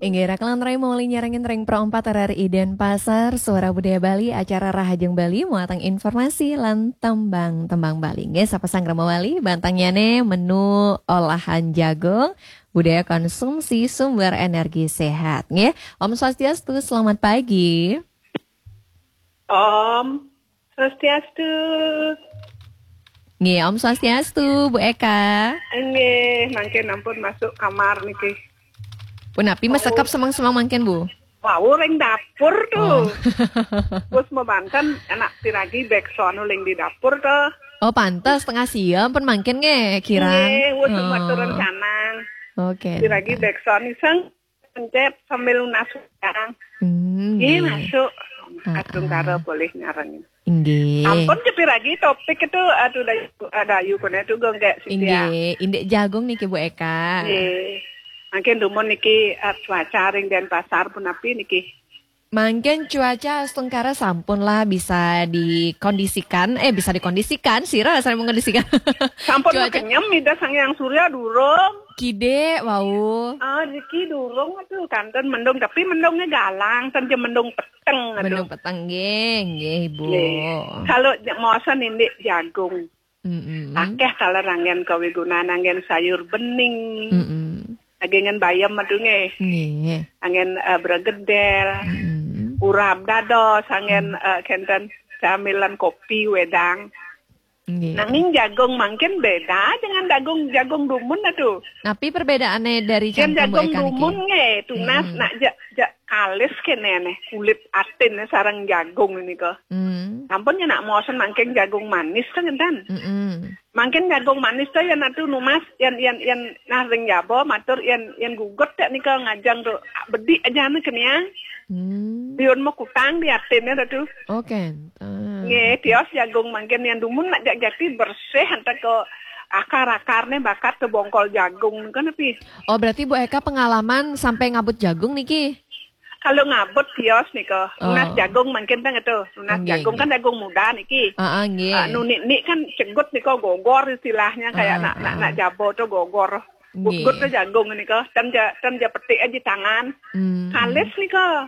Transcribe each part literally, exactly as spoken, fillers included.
Inggih, rakan rai mawali nyarengin ring Pro empat R R I Denpasar, Suara Budaya Bali, acara Rahajeng Bali, muatang informasi lan tembang-tembang Bali. Inggih, sapa sang rama wali, bantangnyané menu olahan jagung, budaya konsumsi sumber energi sehat. Inggih, Om Swastiastu, selamat pagi. Om Swastiastu. Nggih, Om Swastiastu, Bu Eka. Nggih, mangkin ampun masuk kamar niki. Punapi, oh, masekep semeng-semeng mangkin, Bu? Wau ring dapur tuh. Oh. Terus mabanten anak piragi bekson ling di dapur tuh. Oh, pantes tengah siang pun mangkin nggih, kirang. Nggih, wis, oh, matur rencana. Oke. Piragi bekson iseng pencet sambil nunas udang. Hmm, nggih, nggih. Masuk. Ah, Astungkara ah. Boleh nyarengin. Inggih. Ampun, cepi lagi topik itu, aduh, dayu, ah, dayu kene itu gue nggak sih, ya. Inggih, indik jagung niki, Bu Eka. Nggih. Mangkin dumun niki, ah, cuaca ring Denpasar punapi niki? Mangkin cuaca astungkara sampun lah bisa dikondisikan, eh, bisa dikondisikan, sira saya mengkondisikan. Sampun cuaca kenyem, Ida Sang Hyang Surya durung. Kide wau. Ah, niki durung aduh, kanten mendung, tapi mendungnya galang, ten je mendung peteng aduh. Mendung peteng nggih, nggih, Bu. Nggih. Kalau je-, mosen indik jagung. Mm-mm. Akeh taler anggen kawigunan, anggen sayur bening. Mm-mm. Anggen bayam aduh nggih. Nggih. Anggen, eh, bregedel. Mm-mm. Urap dados, anggen, mm, eh, kenten camilan kopi wedang. Nggih. Nanging jagung mangkin beda dengan jagung, jagung dumun aduh. Napi perbedaannya dari yen cangkem jagung Bu Eka niki? Dumun nggih, tunas, mm-mm, nak ja-, ja-, kalis kene neh, kulit atin sareng jagung ini kok. Mm. Ampun ya nak mosen mangkin jagung manis to ngenten. Mm-mm. Mangkin jagung manis to yen atu numas, yen, yen, yen nah ring jaba matur yen, yen gugut tek nika ngajeng to bedik aja nih keniang. Hmm. Riun mau kutang di atinnya to. Oke. Ah. Nggih, tios jagung mangkin yen dumun nak jak jati bersih antar ke akar-akarnya bakat ke bongkol jagung kan tapi. Oh, berarti Bu Eka pengalaman sampai ngabut jagung niki? Kalau ngabut tios nika, nunas, oh, jagung mangkin teng itu. Nunas, nggih, jagung nggih, kan jagung muda niki. Ah, ah, nggih. Ah, nunik-nik kan cegut nika gogor istilahnya kayak, ah, nak, nak, ah, nak jabo to gogor. Nggih. Gugut to jagung nika, ten ja, ten ja petik aja tangan. Hmm. Kalis nika.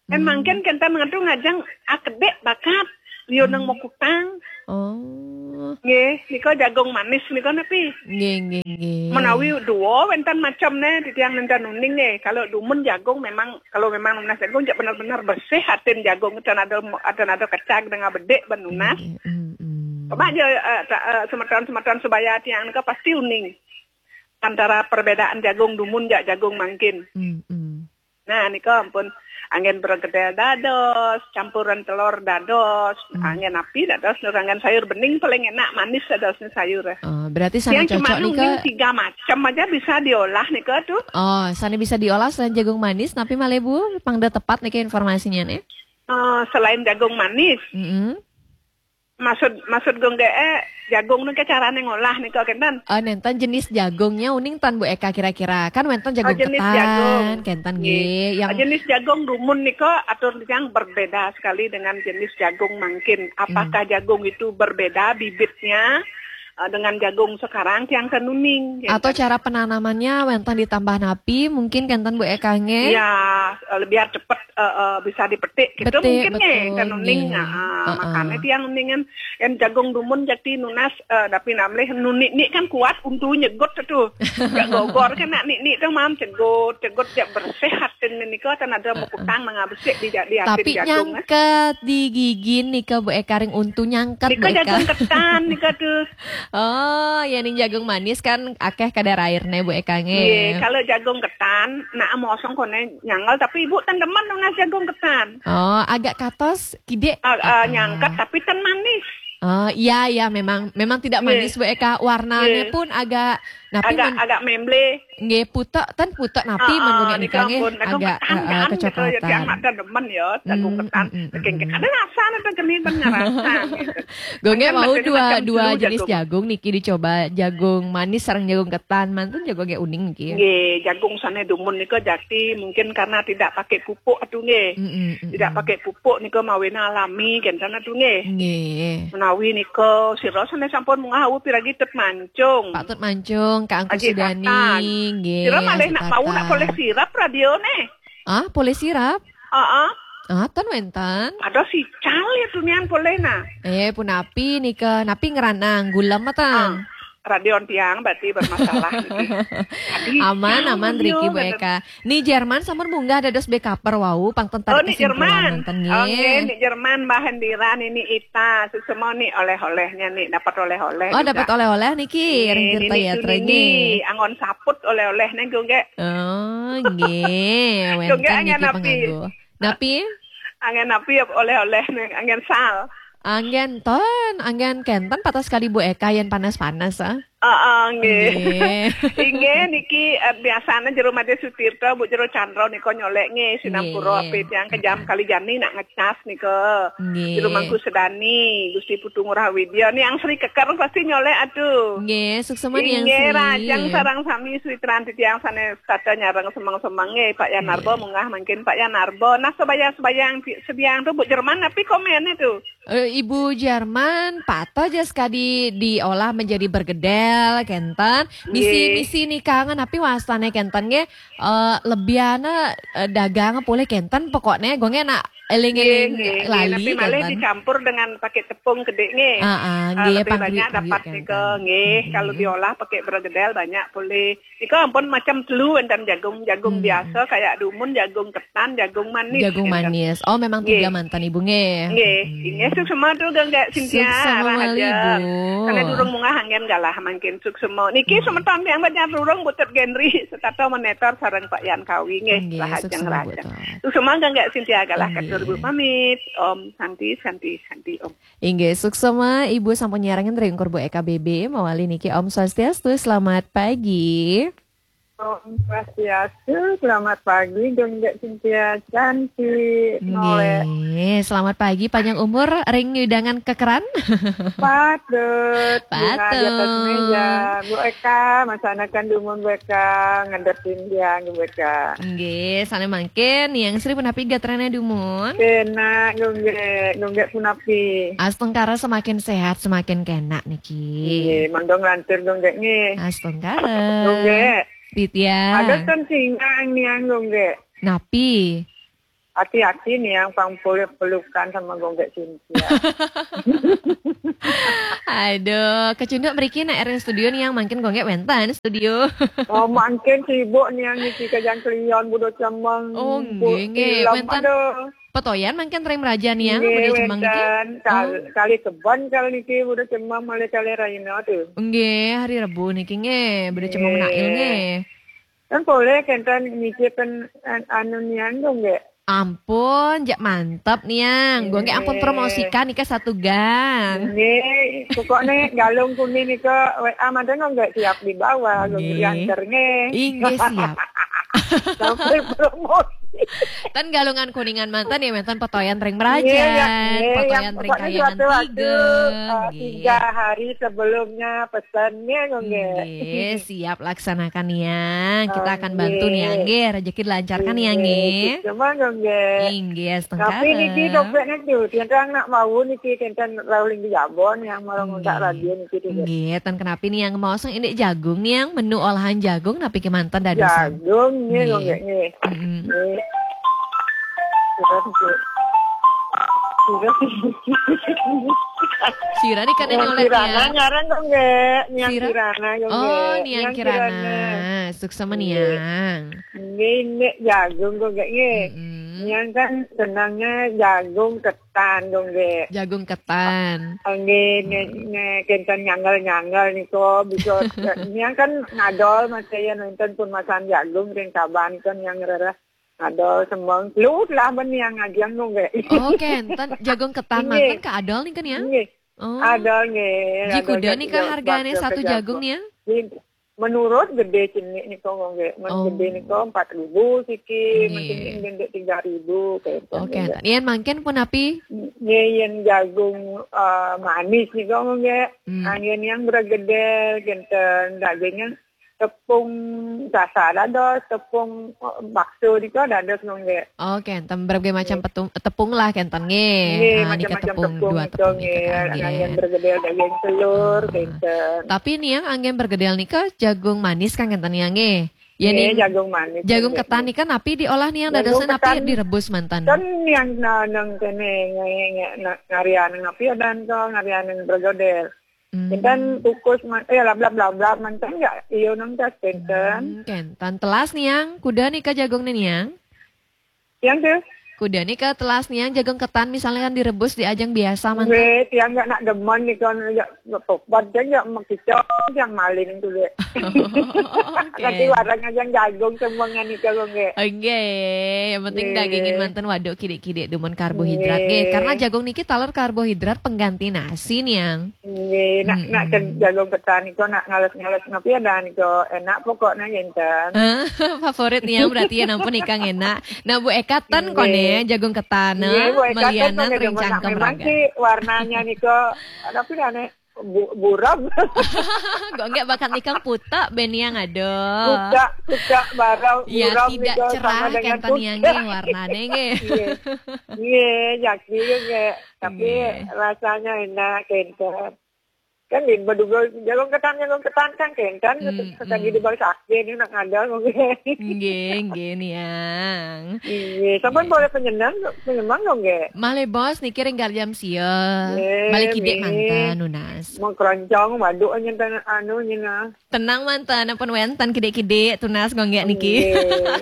Kan, hmm, mangkin kenten ngetu ngajeng akedek bakat. Liu nang, hmm, mau kutang. Oh. Nggih, nika jagung manis nika napi? Nggih, nggih, nggih. Menawi dua wenten macam ne titiang nenten uning nggih. Kalau dumun jagung memang, kalau memang nunas jagung jak benar-benar bersih atin jagung, ten ada, ten ada kecag dengan bedik ben nunas. Nggih, mm, mm. Coba aja, eh, ta-, eh, semeton-semeton sebaya tiang nika pasti uning. Antara perbedaan jagung dumun jak jagung mangkin. Mm, mm. Nah, nika ampun anggen bergedel dados, campuran telur dados, hmm, anggen api dados, nur anggen sayur bening paling enak manis dados ni sayur. Oh, berarti sana yang cuma cocok nika. Tiga macam aja bisa diolah nika tuh. Oh, sana bisa diolah selain jagung manis, tapi malih Bu, pangda tepat nika informasinya nih. Eh, selain jagung manis. Mm-mm. Maksud, maksud gung dee, jagung nika carane ngolah nika kenten? Eh, nenten jenis jagungnya uning tan Bu Eka kira-kira. Kan wenten jagung, oh, jenis ketan, jagung, kenten nggih, nggih. Yang jenis jagung dumun nika atur yang berbeda sekali dengan jenis jagung mangkin. Apakah, hmm, jagung itu berbeda bibitnya, eh, dengan jagung sekarang tiang ten uning, kenten. Atau cara penanamannya wenten ditambah napi mungkin kenten Bu Eka nggih? Ya, eh, biar cepet eh, eh, bisa dipetik gitu. Betik, mungkin nggih, betul, kan uning. Nggih. Nah, ah, heeh, makanya tiang uningan yang jagung dumun jati nunas, eh, tapi namleh nunik-nik kan kuat untuk nyegot tuh. Jak gogor kan nak nik-nik tuh mam cegot, cegot jak bersih atin nika kan ada, heeh, mau kutang nang besik di, di atin. Tapi jagung, eh, nyangket di gigi nika Bu Eka ring untu nyangket. Nika Bu Eka. Jagung ketan nika tuh. Oh, ya ning jagung manis kan akeh kadar airnya Bu Eka nggih. Nggih, kalau jagung ketan, nak mosong kone nyangel, tapi ibu ten demen nunas jagung ketan. Oh, agak katos, kidik. Ah, ah, ah, nyangket, tapi ten manis. Oh, iya, iya, memang, memang tidak manis, nggih, Bu Eka. Warnanya, nggih, pun agak, napi agak, men-, agak memble. Nggih, putek, ten putek napi, ah, ah, manggung nika, nika nggih, ampun, jagung agak, ketan, eh, eh, kan, gitu, ya, kecoklatan. Tiang nak ten demen ya, jagung, hmm, ketan. Hmm, hmm, hmm, hmm. Ada rasa, ada geni, ben ngerasa, gitu. Gung nggih, kan mau macam-macam dua, dua jenis jagung. Jagung niki dicoba, jagung manis sareng jagung ketan, mantun jagung nggih uning niki. Nggih, jagung sane dumun nika jati mungkin karena tidak pakai pupuk atuh nggih. Mm, mm, mm, mm. Tidak pakai pupuk nika mawena alami kenten atuh nggih. Nggih. Menawi nika sira sane sampun mungah awu piragi Tut Mancung. Pak Tut Mancung, Kak Angku Sudani, nggih, sira malih nak mau nak poleh sirap radio ne. Ah, poleh sirap? Heeh. Ah, ten wénten. Ada sical ya tunian poleh nah. Eh, punapi nika, napi ngranang gulem meten? Ah, radion tiang berarti bermasalah niki. Aman, aman, riki Bu Eka. Ni Jerman sampun munggah dados bekaper wau, pang ten. Oh, ni Jerman. Wénten, oh, nggih, ni Jerman, Mbah Hendiran, ini Ita, suksma ni oleh-olehnya ni, dapat oleh-oleh. Oh, juga dapat oleh-oleh niki, ring Tirta Yatra nggih. Anggon saput oleh-olehnya, nggih. Oh, nggih. Wénten niki panganggo. Napi? Anggen napi oleh-oleh nih, anggen sal. Anggen ten, anggen kenten patah sekali Bu Eka yen panas-panas, ah. Heeh, nggih. Nggih. Inggih niki, eh, biasane jero Madé Sutirta, Bu, jero Candra nika nyolek nggih, sinampura ape tiang kejam kali jani nak ngecas nika. Nggih. Jero Mangku Sedani, Gusti Putu Ngurah Widya, Niang Sri Keker pasti nyolek atuh. Nggih, suksma Niang Sri. Inggih, rajang sareng sami Sri Tranti tiang sane Tata nyareng semeng-semeng nggih, Pak Yan Narba munggah mangkin Pak Yan Narba. Nah, sebayang-sebayang ti-, sebiang tu Bu Jerman, tapi komen itu. Eh, Ibu Jerman, patah aja sekadi diolah menjadi bergedel, kenten. Misi, nggih. Misi nikangan, tapi wastane kenten nggih, eh, lebiana, eh, dagang poleh kenten, pokoknya gue nggih nak eling-eling nggih, nggih, lali, tapi malah kenten. Dicampur dengan pakai tepung gede nggih. Ah, ah, eh, nggih, lebih banyak dapat nika nggih. Hmm. Kalau diolah pakai bergedel banyak poleh. Nika ampun macam telu wénten jagung, jagung biasa kayak dumun, jagung ketan, jagung manis. Jagung manis. Oh, memang tiga manten Ibu nggih. Nggih, nggih, suksma tu Geng Cynthia. Suksma malih, Bu. Karena durung munggah anggen galah mangkin suksma. Niki semeton tiang banjar durung butut Genri, setata menetor sareng Pak Yan Kawi nggih. Nggih, suksma, Bu. Suksma Geng Cynthia galah katur Bu pamit. Om Santi, Santi, Santi, Om. Inggih, suksma Ibu sampun nyarengin ring Kurbo E K B B, mawali niki Om Swastiastu, selamat pagi. Om Swastiastu, selamat pagi, Geng Cynthia cantik, noleh. Nggih, selamat pagi, panjang umur, ring nyudangan kekeran. Patut, patut. Bunga di atas meja, Bu Eka, masanakan dumun Bu Eka, ngadepin tiang Bu Eka. Nggih, sane mangkin, Niang Sri punapi gatrane dumun? Kenak, nggih, nggih punapi. Astungkara semakin sehat, semakin kenak niki. Nggih, mangga nglantur, nggih, nggih. Astungkara. Nggih. Titiang. Ada kan singang niang, nggih. Napi? Hati-hati niang pang peluk-pelukan sama Gonggek Cynthia. Aduh, kecunduk mriki nak ring studio niang mangkin Gonggek wénten studio. Oh, mangkin sibuk niang niki kejang kelion budo cemeng. Oh, nggih, nggih. Wénten. Aduh. Petoyan mangkin ring meraja niang, nggih, budo cemeng niki. Wénten. Kal-, oh. Kali kebon kali niki budo cemeng malih kali raina tu. Nggih, hari Rebo niki nggih, budo cemeng menail nggih. Kan boleh kenten niki pen an-, anu niang dong nggih. Ampun, jak mantep niang. Gue nggih ampun promosikan nika satu gang. Nggih, pokoknya galung kuning nika W A manten nggak siap dibawa, nggih. Diantar nggih. Inggih siap. Sampai promosi. Tan galungan kuningan manten ya, manten petoyan ring meraja, nggih, ya, nggih, petoyan ring kayangan tiga. Nggih. Tiga hari sebelumnya pesan nggih, nggih. Nggih, siap laksanakan niang. Kita akan bantu niang nggih, rezeki dilancarkan niang nggih. Cuma nggih. Inggih, astungkara. Tapi niki dompetnya tuh, tiang nak mau niki kenten lalu di Jabon yang malah nguntak radio niki tuh. Nggih, tan kenapi niang mau sang indik jagung niang, menu olahan jagung napi kemanten dadosan. Jagung nggih, nggih. Nggih. Mm-mm. Nggih. Sudah, sudah. Sira ni kan oleh Kirana niang. Ngarang kok nggih, Niang Kirana kok nggih. Oh, Niang Kirana. Suksma niang. Nggih, ini jagung kok nggih. Mm-mm. Niang kan senangnya jagung ketan kok nggih. Jagung ketan. Nggih, ne, ne, kenten nyanggal-nyanggal niko bisa, niang kan ngadol masih ya nonton pun masan jagung ring kaban kan yang rereh. Adol semeng. Lu lah ben yang ngajiang nu nggih. Oh, kenten jagung ketan manten ka adol nih kan ya? Nggih. Oh. Adol nggih. Ji kuda nih ka hargane satu jagung nih ya? Menurut gede cenik nih kok nggih. Men gede nih kok empat ribu siki, men cenik gede tiga ribu kayak gitu. Oh, kenten. Yen mangkin punapi? Nggih, yen jagung, eh, manis nih kok nggih. Hmm. Angin yang bergedel, kenten dagingnya tepung sasa dados, tepung, eh, bakso nika dados nggih. Oh, kenten berbagai macam tepung lah kenten nggih. Nggih, ah, nika macam-macam tepung, tepung dua nika tepung nggih. Nika nggih. Anggen bergedel daging telur, ah, kenten. Tapi niang anggen bergedel nika jagung manis kan kenten niang nggih. Ya, Nggih, nih. Jagung manis. Jagung Nggih. ketan nih kan napi diolahnya, Jagung dadosnya napi ketan. Direbus mantan. Kan yang naneng kene nge- nge- na- ngarian napi adan to, ngarian bergoder. Hmm. Kita kukus man, eh, lablab lablab mantan ya, iyo nang tas kenten. Hmm, kenten. Telas nih yang, kuda nih ke jagungnya nih yang. Yang tuh, Kuda nih ke telas nih yang, jagung ketan misalnya kan direbus di ajang biasa mantan. Nggih, tiang nggak nak demen nih kan, ya, tobat kan ya, mau kicau yang maling tuh deh. Oke. Nanti warang aja jagung semuanya nih kalau nggak. Oke, yang penting Nggih. dagingin mantan waduk kidik-kidik dumun karbohidrat. Nggih. Nggih, karena jagung niki taler karbohidrat pengganti nasi nih yang. Nggih, nak nak Mm-mm. jagung ketan itu nak ngales-ngales napi adan itu enak pokoknya kenten. Favorit nih yang berarti ya nampun ikang enak. Nah, Bu Eka ten Nggih. kone jagung ketan, Nggih, Bu Eka ten melianan kone ring demen nak cangkem memang raga. Sih warnanya nih kok, tapi aneh bu, buram. Kok enggak bakat nikang puta beniang aduh. Kuda, kuda barau, Ya, buram tidak nih, cerah sama dengan kenten yang kuda. Nggih, warnanya nggih. Iya, iya, jaki juga. Tapi Nggih. Rasanya enak kenten. Kan di bedugul jagung ketan, jagung ketan kan kenten. Hmm, Sekali hmm. Di bawah sakit ini nak ada mungkin. Nggih, nggih niang. Iya, sampean boleh penyenang, penyemang dong nggih. Malih bos niki ring jam sia. Nggih, Balik kidik nggih. Mantan nunas. Mau keroncong, waduk aja ntan anu nyina. Tenang mantan, ampun wenten kidik-kidik tunas ngonggek niki. Nggih.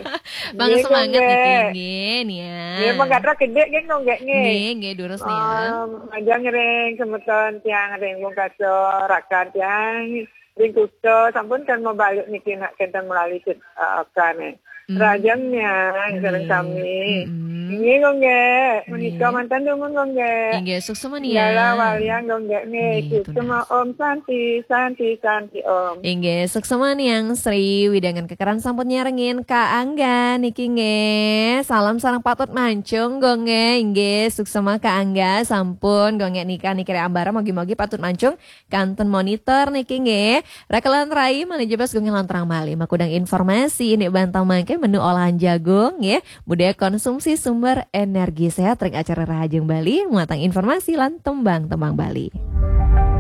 Bang Nggih, semangat niki ngonggek. Nggih niang. Nggih, mengkatra kidik nggih ngonggek nggih. Nggih, nggih durus niang. Um, aja ngereng semeton tiang ring Bungkaso, rakan tiang ring Kuta, sampun kan mau balik niki nak kenten melalui cit uh, kane. Hmm. Rajang niang sareng Nggih. Sami. Mm-mm. Nggih ngonggek, menika Nggih. Mantan dumun nggih. Inggih, suksma Segala niang. Walian nggih nggih. Nggih, Suksma tunas. Om Santi, Santi, Santi Om. Inggih, suksma niang Sri Widangan Kekeran sampun nyarengin Kak Angga niki nggih. Salam sareng patut mancung nggih. Inggih, suksma Kak Angga sampun nggih nika niki ambara mogi-mogi patut mancung kanten monitor niki nggih. Rakelan rai malih jebas nggih lanturang malih makudang informasi ini bantang mangke menu olahan jagung nggih. Budaya konsumsi sumber energi sehat ring acara Rahajeng Bali, muatang informasi lan tembang-tembang Bali.